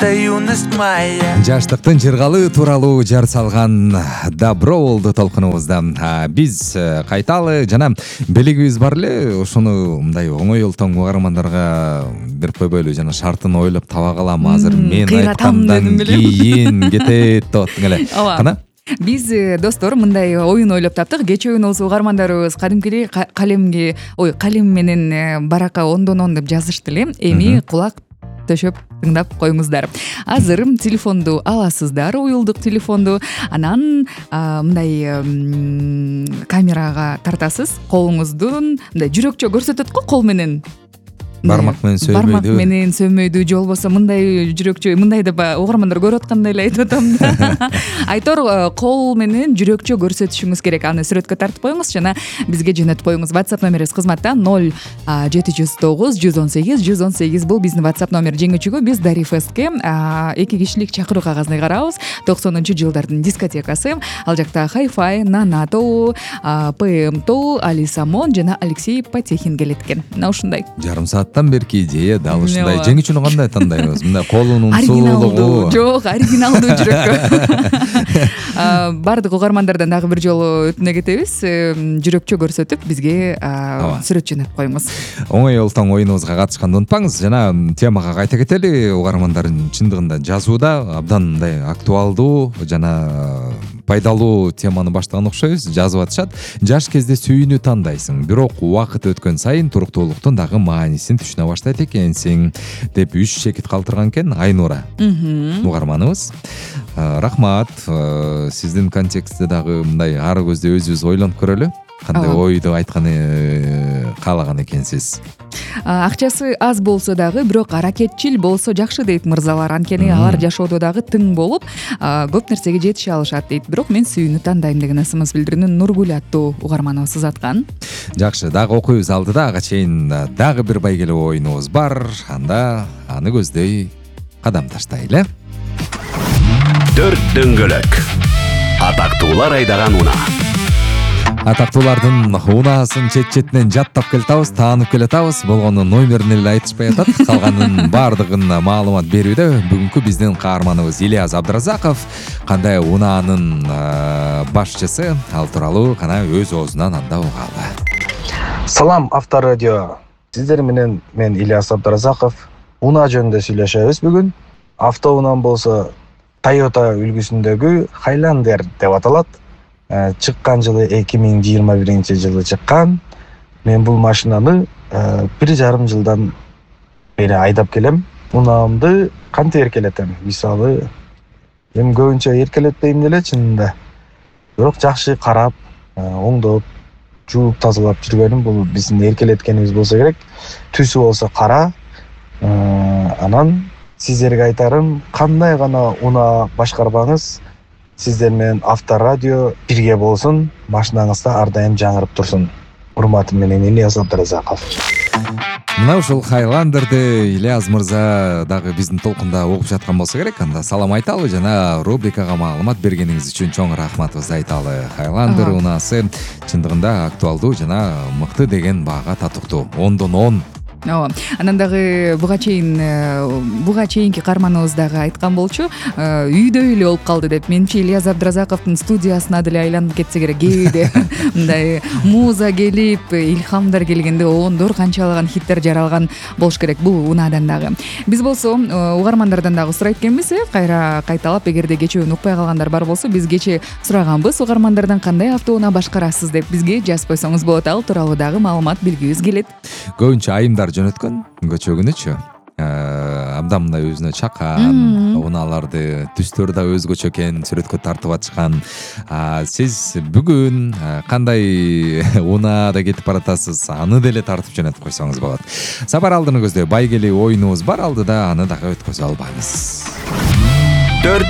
это юность моя. Жаштыктын жыргалы тууралуу жар салган Добро болду толкунубузда. Биз кайталы жана белегибиз бар эле, ошону мындай оңой олтоң угармандарга берип койбойлу, жана шартын ойлоп таба калам. Азыр мен айткандан кийин кетет деп аттың эле. Кана? Биз достор мындай оюн ойлоп таптык. Кечөөбүн угармандарыбыз кадимкидей калем менен баракка ондон деп жазышты эле. Эми кулак төшөп тыңдап коюңуздар. Азыр телефонду аласыздар, уюлдук телефонду. Анан мындай камерага тартасыз. Колуңуздун мындай жүрөкчө көрсөтөт го кол менен. Бармак менен сөөмөйдү, же болбосо мындай жүрөкчө, мындай деп угармандар көрүп аткандай эле айтып атам да. Айтор кол менен жүрөкчө көрсөтүшүңүз керек. Аны сүрөткө тартып коюңуз жана бизге жөнөтүп коюңуз. WhatsApp номерибиз кызматта 0709 118 118 бул биздин WhatsApp номер. Жеңүүчүгө биз Дари Фестке 2 кишилик чакыруу кагазын карабыз. 90-жылдардын дискотекасы. Ал жакта Hi-Fi, Нана Тоу, ПМ Тоу, Али Самон жана Алексей Потехин келет экен. Мына ушундай. Жарым сааттан берки идея дал ушундай. Жеңүүчүнү кандай тандайбыз? Мындай колунун сулуулугу. Жок, оригиналдуу жүрөккө. Бардык угармандардан дагы бир жолу өтүнө кетебиз. Жүрөкчө көрсөтүп бизге сүрөт жөнөтүп коюңуз. Оңой олтоң оюнубузга катышканды унутпаңыз. Жана темага кайта кетели. Угармандардын чындыгында жазууда абдан мындай актуалдуу жана пайдалуу теманы баштаган окшойбуз. Жазып атышат. Жаш кезде сүйүүнү тандайсың, бирок убакыт өткөн сайын туруктуулуктун дагы маанисин түшүнө баштайт экенсиң деп 3 чекит калтырган экен Айнура. Угарманыбыз. Рахмат. Сиздин контекстте дагы мындай ары көздө өзүбүз ойлонуп көрөлү. Кандай ойду айтканы каалаган экенсиз. Акчасы аз болсо дагы, бирок аракетчил болсо жакшы дейт мырзалар. Анткени алар жашоодо дагы тың болуп, көп нерсеге жетише алышат дейт. Бирок мен сүйүүнү тандайм деген асымыз билдирүүнү Нургүл аттуу угарманыбыз аткан. Жакшы, дагы окуйбуз алдыда. Ага чейин дагы бир байгелүү оюнубуз бар. Анда аны көздөй кадам таштайлы. 4 дөңгөлөк. Атактуулар айдаган унаа. Атактуулардын унаасын чет-четинен жаттап келатабыз, таанып келатабыз. Болгону номерин эле айтышпай атат. Калганын баардыгын маалымат берүүдө бүгүнкү биздин каарманыбыз Ильяз Абдыразаков кандай унаанын башчысы, ал тууралуу кана өз оозунан анда угалы. Салам Авторадио. Сиздер менен мен Ильяз Абдыразаков унаа жөнүндө сүйлөшөбүз бүгүн. Автоунаа болсо Toyota үлгүсүндөгү Highlander деп аталат. Чыккан жылы 2021-жылы чыккан. Мен бул машинаны 1,5 жылдан бери айдап келем. Унаамды кантип эркелетем? Мисалы, эми көбүнчө эркелетпейм деле чынында. Бирок жакшы карап, оңдоп, жууп тазалап жүргөнүм бул биздин эркелеткенибиз болсо керек. Түсү болсо кара. Анан сиздерге айтарым, кандай гана унаа башкарбаңыз, сиздер менен Авторадио бирге болсун, машинаңызда ар дайым жаңырып турсун. Урматым менен Ильяз Абдыразаков. Мына ушул Highlander-ды Ильяз мырза дагы биздин толкунда угуп жаткан болсо керек. Анда салам айталы жана рубрикага маалымат бергениңиз үчүн чоң рахматыбызды айталы. Highlander унаасы чындыгында актуалдуу жана мыкты деген баага татыктуу. 10/10. Анан дагы буга чейинки каарманыбыз дагы айткан болчу, үйдөй эле болуп калды деп. Менимче Ильяз Абдыразаковдун студиясына деле айланып кетсе керек. Кээде мындай муза келип, илхамдар келгенде ондор канчалаган хиттер жаралган болуш керек бул унаадан дагы. Биз болсо угармандардан дагы сурайт экенбиз, кайра кайталап, эгерде кечөөнү укпай калгандар бар болсо, биз кечээ сураганбыз угармандардан кандай автоунаа башкарасыз деп. Бизге жазып койсоңуз болот. Ал тууралуу дагы маалымат билгибиз келет. Көбүнчө айымдар жөнөткөн көчөгүнүчү. Абдан мындай өзүнө чакан, унааларды түстөрү да өзгөчө экен, сүрөткө тартып атышкан. Сиз бүгүн кандай унаада кетип баратасыз, аны деле тартып жөнөтүп койсоңуз болот. Сапар алдыны көздөй байгелүү оюнубуз бар, алдыда аны дагы өткөзө албаңыз. 4